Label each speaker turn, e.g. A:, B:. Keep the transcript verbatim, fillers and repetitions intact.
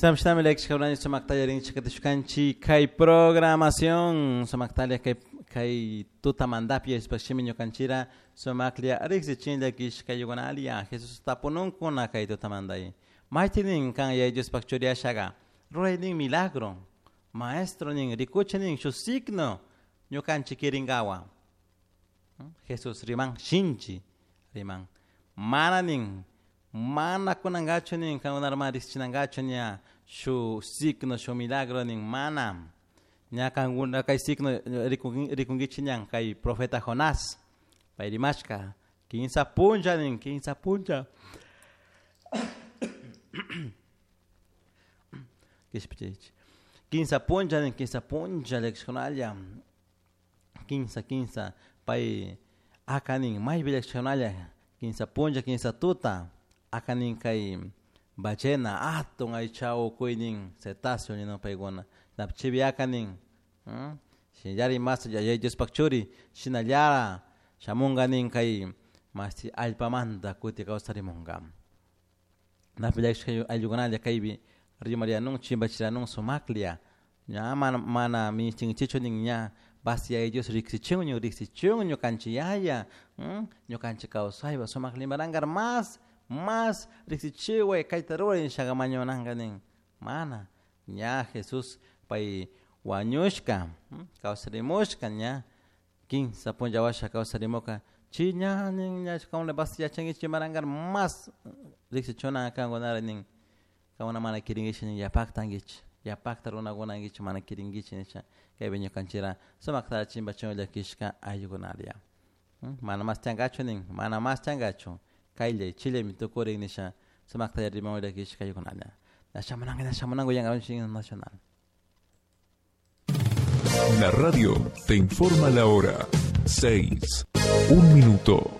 A: Shinami llakishkakunanchik sumaktalla rinchik katishkanchik kay programación sumaktalla kay kay tutamantapi yachashpashimi ñukanchira sumaklla riksichin llakishkayukunalla Jesus tapununkuna kay tutamantay maytinin kan Yaya Diospak churi ashaga ruraynin milagro maestro nin rikuchi nin shuk signo ñukanchik kirinkawa. Jesus riman shinchi riman mana nin mana kunankachu nin kankunarama riksichinankachu ña shu signo shu milagro nin mana ña kankuna kay signo rikunkichik ñan kay profeta Jonás pay rimashka kinsa punlla nin kinsa punlla kishpichiychik kinsa punlla nin kinsa punlla llakishkunalla kinsa kinsa pay aka nin maypi llakishkunalla kinsa punlla kinsa tuta aka nin kay ballena atun aycha ukuynin cetáceo ninun paykuna chipi aka nin shinallari mas Yaya Diospak churi shinallara shamunka nin kay mashti allpamanta kuti kawsarimunka napi llakishka ayllukunalla kaypi rimarianun chimpachiranun sumaklla ña mana mana minishtinkichikchu nin ña basi Yaya Dios riksichun riksichun ñukanchik yaya ñukanchik kawsaypa sumak limarankar mas mas riksichiway kayta ruray nishaga mañunanka nin mana ña Jesús pay wañushka kawsarimushka ña kinsa punlla washa kawsarimuka chay ña nin ña kankuna basi yachankichik imarankar mas riksichuna kankunara nin kankuna mana kirinkichik nin yapakta ankichik yapakta runakuna ankichik mana kirinkichik nisha kaypi ñukanchikra sumakta chimpachun llakishka ayllukunalla mana mas tiyankachu nin mana mas tiyankachu kayllay chillami tukurin nisha sumakta riman llakishka ayllukunalla ña shamunanka ña shamunanka uyankapunchik himno nacional.
B: La radio te informa la hora. Seis. Un minuto.